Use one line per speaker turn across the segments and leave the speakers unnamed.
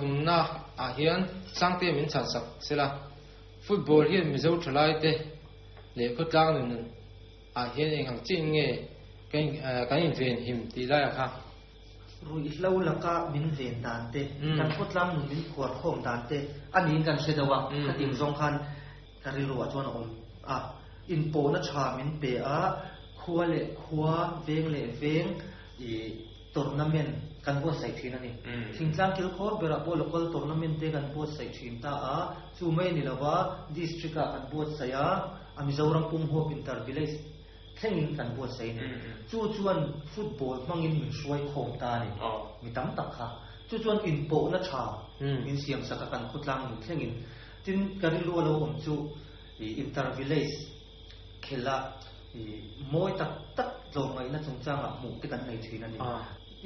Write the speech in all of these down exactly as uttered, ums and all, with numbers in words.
Pathumna ah hian Sangte min chhan sak sela. Football hian Mizo thalai te leh khawtlang nun ah hian eng ang chiin nge kan kan inven him tih lai ah kha.
Ruihhlo laka min ven dan te, kan khawtlang nun min phuar khawm dan te a niin kan hre deuh a, khatiang zawng khan ka rilru ah chuan a awm a. Inpawhna tha min pe a, khua leh khua, veng leh veng ih tournament kan buatsaih thin a ni. Thingtlang kil khawr berah pawh local tournament te kan buatsaih thin ta a, chu mai a ni lova district ah kan buatsaih a, a Mizoram pum huap inter village thlengin kan buatsaih a ni. Chu chuan football hmangin min hruai khawm ta a ni, mi tam tak kha. Chu chuan inpawhna tha min siam sak a kan khawtlang nun thlengin. Tin, ka rilru a lo awm chu inter village khela mawi tak tak tlawmngaihna chungchangah hmuh te kan nei thin a ni.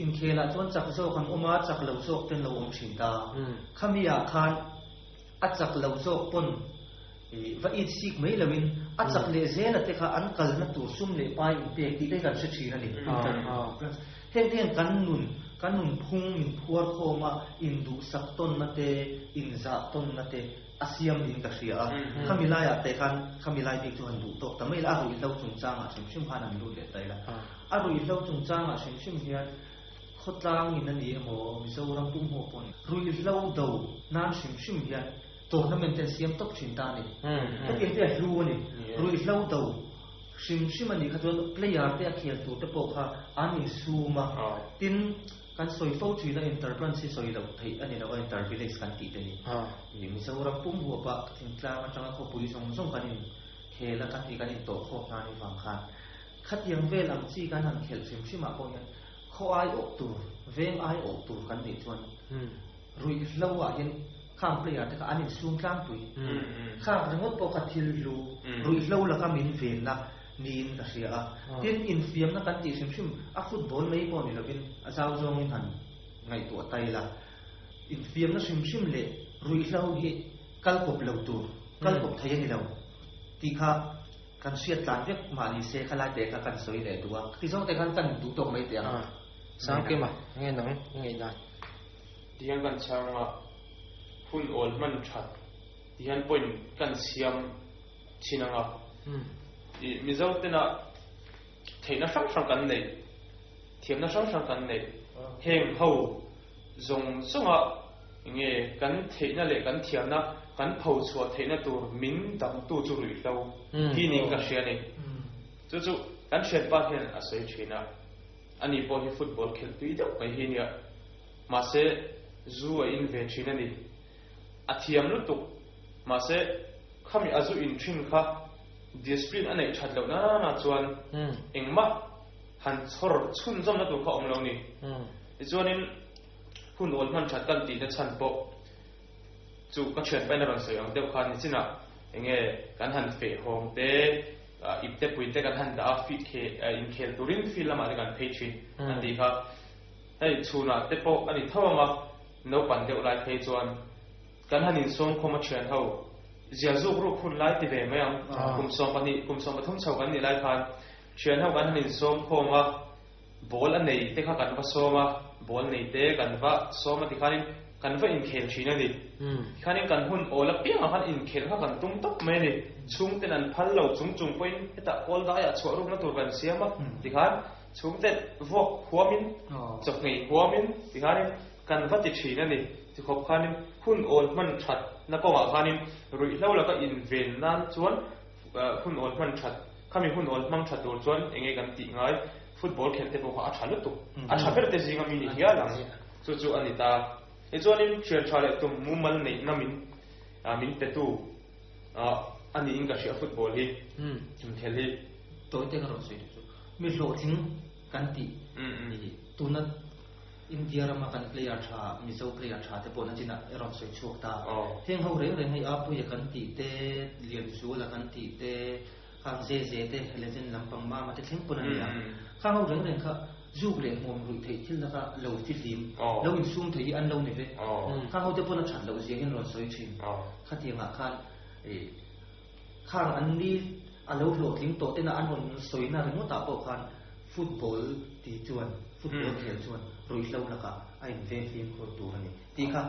Inkhelah chuan chak zawk an awm a, chak lo zawk te an lo awm thin ta. Khamiah khan a chak lo zawk pawn va it sik mai loin a chak leh zela te kha an kalna tur sum leh pai inpek tih te hi kan hre thin a ni. Heng te hian kan nun, kan nunphung min phuar khawm a, induhsak tawnna te, inzah tawnna te a siam niin ka hria a. Khami laiah te khan, khami lai bik chu han duh tawk ta mai la, a ruihhlo chungchangah hrim hrim khan han lut leh ta ila. A ruihhlo chungchangah hrim hrim hian khawtlangin a ni emaw, Mizoram pum haw pawh a ni, ruihhlo do nan hrim hrim hian tournament te an siam tawp thin ta a ni. Hetiang te a hlu a ni. Ruihhlo do hrim hrim a nih kha chuan player te a khel tur te pawh kha an insum a, tin kan sawi fo thin a inter-branch hi sawi loh theih a ni lo a, inter-village kan tih te hi. Mizoram pum huapa thingtlang atanga khawpui zawng zawng kan inkhel a, kan ti kan intawh khawm hna ni vang khan khatiang vel ang chi kan han khelh hrim hrim ah pawh hian khaw ai awh tur, veng ai awh tur kan nih chuan ruihhlo ah hian khang player te kha an insum tlangpui. Khang ringawt pawh kha thil hlu, ruihhlo laka min venna niin ka hria a. Tin, infiamna kan tih hrim hrim a football mai pawh ni lovin a zau zawngin han ngaihtuah ta ila. Infiamna hrim hrim leh ruihhlo hi kal kawp lo tur, kal kawp thei a ni lo tih kha kan hriat tlan vek mah ni se khalai te kha kan sawi leh duh a. Ti zawng te khan kan duh tawk mai teh ang.
Sangkima, nge nang i ngaihdan?
Tihian kan chhang a, hun awl hman that tihian point kan siam thin ang a. I Mizo tena theihna hrang hrang kan neih, thiamna hrang hrang kan neih, heng ho zawng zawnga nge kan theihna leh kan thiamna kan pho chhuah theihna tur min dangtu chu ruihhlo hi niin ka hria a ni. Chu chu kan thianpa hian a sawi thin a, ani pawh hi football khelh tui deuh mai hi nia, mahse zu a in ve thin a ni. A thiam lutuk, mahse khami a zu in thin kha discipline a neih that loh na na chuan engmah han chhawr chhunzawmna tur kha a awm lo ni. Tichuanin hun awl hman that kan tihna chhan pawh chu ka thianpain a rawn sawi ang deuh khan nichinah enge kan han feh hawng te, ip te pui te kan han dah a, inkhel turin field lamah te kan phei thin an tih kha. Hei chhunah te pawh a ni tho ang a, naupan deuh lai phei chuan kan han insawm khawm a thian ho zia zuk ruk hun lai ti ve mai ang, kum sawm pahnih kum sawm pathum chho kan nih lai khan thian ho kan han insawm khawm a, ball a nei te kha kan va sawm a, ball nei te kan va sawm a tikhanin kan va inkhel thin a ni. Tikhanin kan hun awl apiangah khan inkhel kha kan tum tawp mai a ni. Chhungten an phal lo chung chung pawhin hetah kawl daiah chhuah rukna tur kan siam a, tikhan chhungten vuak huamin, chawhngei huamin tikhanin kan va ti thin a ni. Tikhawp khanin hun awl hman that na kawngah khanin ruihhlo laka inven nan chuan hun awl hman that, khami hun awl hmang tha tur chuan enge kan tih ngai, football khelh te pawh kha a tha lutuk, a tha ber te zinga mi ni hial ang, chu chu a ni ta. Tichuanin thian tha leh tum mumal neihna min min petu a niin ka hria football hi, inkhel hi.
Tawi te ka rawn sawi duh chu, mi hlawhtling kan tih tuna India rama kan player tha, Mizo player tha te pawh nachinah i rawn sawi chhuak ta. Heng ho reng reng hei Apuia kan tih te, Lianzuala kan tih te, khang Ze Ze te, legend lampang Mama te thleng pawn a ni a. Khang ho reng reng kha zuk leh hmuam ruih theih thil laka lo fihlim, lo insum thei hi an lo ni ve. Khang ho te pawn a that loh zia hian rawn sawi thin. Khatiangah khan khang an ni a lo hlawhtling tawh tena an rawn sawina ringawtah pawh khan football ti chuan, football khel chuan ruihhlo lakah a inveng fimkhur tur a ni tih kha.